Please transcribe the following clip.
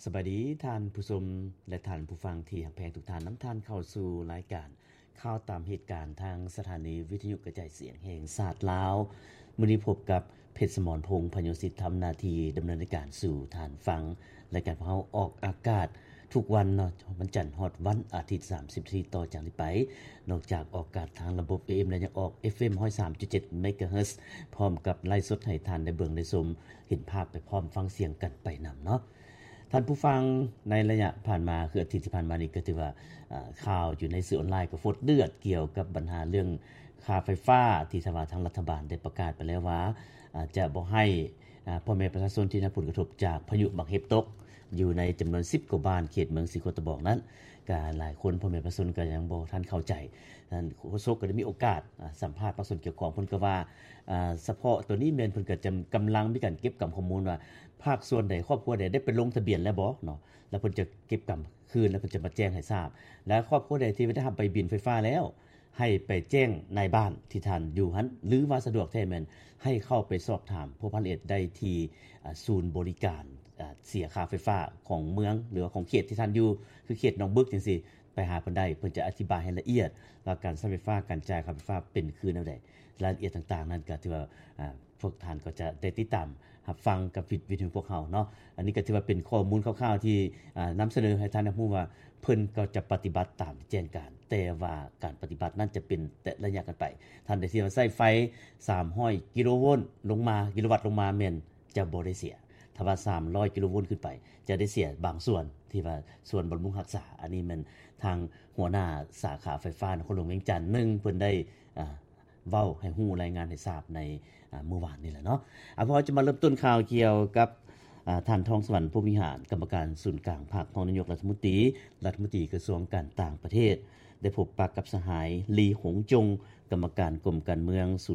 ສະບາຍດີທ່ານຜູ້ຊົມ ແລະ ທ່ານຜູ້ຟັງທີ່ຮັກແພງທຸກທ່ານ. ນຳທ່ານເຂົ້າສູ່ລາຍການຂ່າວຕາມເຫດການ ທາງສະຖານີວິທະຍຸກະຈາຍສຽງແຫ່ງຊາດລາວ. ມື້ນີ້ພົບກັບ ເພັດສະໝອນ ພົງພະໂຍສິດ ທຳໜ້າທີ່ດຳເນີນລາຍການສູ່ທ່ານຟັງ. ລາຍການຂອງເຮົາອອກອາກາດທຸກວັນເນາະ, ວັນຈັນຮອດວັນອາທິດ ສາມສິບນາທີຕໍ່ຈາກນີ້ໄປ. ນອກຈາກອອກອາກາດທາງລະບົບ ເອເອັມ ແລ້ວ ຍັງອອກ ເອັຟເອັມ ຮ້ອຍສາມຈຸດເຈັດ ເມກາເຮີດ ພ້ອມກັບໄລຟ໌ສົດໃຫ້ທ່ານໄດ້ເບິ່ງໄດ້ຊົມ ເຫັນພາບໄປພ້ອມ ຟັງສຽງກັນໄປນຳເນາະ. ທ່ານຜູ້ຟັງ, ໃນໄລຍະຜ່ານມາ ຄືອາທິດທີ່ຜ່ານມານີ້ ກໍຖືວ່າ ອາ ຂ່າວຢູ່ໃນສື່ອອນລາຍກໍຟົດເດືອດກ່ຽວກັບບັນຫາເລື່ອງຄ່າໄຟຟ້າ ທີ່ທາງວ່າທາງລັດຖະບານໄດ້ປະກາດໄປແລ້ວວ່າ ອາ ຈະບໍ່ໃຫ້ ອາ ພໍ່ແມ່ປະຊາຊົນທີ່ໄດ້ຮັບຜົນກະທົບຈາກພາຍຸບັກເຫັບຕົກ ຢູ່ໃນຈຳນວນສິບກວ່າບ້ານເຂດເມືອງສີໂຄດຕະບອງນັ້ນ ກະຫຼາຍຄົນ ພໍ່ແມ່ປະຊາຊົນກໍຍັງບໍ່ທັນເຂົ້າໃຈ. ທ່ານໂຄສົກກໍໄດ້ມີໂອກາດ ອາ ສຳພາດພາກສ່ວນກ່ຽວຂ້ອງ ເພິ່ນກໍວ່າ ອາ ສະເພາະໂຕນີ້ແມ່ນເພິ່ນກໍຈຳ ກຳລັງມີການເກັບກຳຂໍ້ມູນວ່າ ພາກສ່ວນໃດ ຄອບຄົວໃດ ໄດ້ໄປລົງທະບຽນແລ້ວບໍ່ເນາະ ແລ້ວເພິ່ນຈະເກັບກຳຄືນ ແລ້ວເພິ່ນຈະມາແຈ້ງໃຫ້ຊາບ ແລະ ຄອບຄົວໃດທີ່ໄດ້ຮັບໃບບິນໄຟຟ້າແລ້ວ ໃຫ້ໄປແຈ້ງນາຍບ້ານທີ່ທ່ານຢູ່ຫັ້ນ ຫຼືວ່າສະດວກແທ້ແມ່ນໃຫ້ເຂົ້າໄປສອບຖາມພົວພັນລະອຽດໄດ້ທີ່ ອາ ສູນບໍລິການ ອາ ເສຍຄ່າໄຟຟ້າຂອງເມືອງ ຫຼືວ່າຂອງເຂດທີ່ທ່ານຢູ່ ຄືເຂດໜອງບຶກຈັ່ງຊີ້ ໄປຫາເພິ່ນໄດ້ ເພິ່ນຈະອະທິບາຍໃຫ້ລະອຽດວ່າການໃຊ້ໄຟຟ້າ ການຈ່າຍຄ່າໄຟຟ້າເປັນຄືແນວໃດ ລາຍລະອຽດຕ່າງໆນັ້ນກໍຖືວ່າ ອາ ພວກທ່ານກໍຈະໄດ້ຕິດຕາມຮັບຟັງກັບວິ ວິທະຍຸພວກເຮົາເນາະ. ອັນນີ້ກໍຖືວ່າເປັນຂໍ້ມູນຄ່າວໆທີ່ ອາ ນຳສະເໜີໃຫ້ທ່ານໄດ້ຮູ້ວ່າ ເພິ່ນກໍຈະປະຕິບັດຕາມທີ່ແຈ້ງການ ແຕ່ວ່າການປະຕິບັດນັ້ນຈະເປັນແຕ່ໄລຍະກັນໄປ. ທ່ານໃດທີ່ວ່າໃຊ້ໄຟສາມຮ້ອຍກິໂລໂວນລົງມາ ກິໂລວັດລົງມາ ແມ່ນຈະບໍ່ໄດ້ເສຍ. ຖ້າວ່າສາມຮ້ອຍກິໂລໂວນຂຶ້ນໄປ ຈະໄດ້ເສຍບາງສ່ວນ ທີ່ວ່າສ່ວນບຳລຸງຮັກສາ. ອັນນີ້ແມ່ນທາງຫົວໜ້າສາຂາໄຟຟ້ານະຄອນຫຼວງວຽງຈັນ ໜຶ່ງ ເພິ່ນໄດ້ ອາ ເວົ້າໃຫ້ຮູ້ ລາຍງານໃຫ້ຊາບໃນ ອາ ມື້ວານນີ້ແຫຼະເນາະ. ອາ ພວກເຮົາຈະມາເລີ່ມຕົ້ນຂ່າວກ່ຽວກັບ ອາ ທ່ານ ທອງສະຫວັນ ພົມວິຫານ ກຳມະການສູນກາງພັກ ຮອງນາຍົກລັດຖະມົນຕີ ລັດຖະມົນຕີກະຊວງການຕ່າງປະເທດ ໄດ້ພົບປະກັບສະຫາຍ ລີ ຫົງຈົງ ກຳມະການກົມການເມືອງ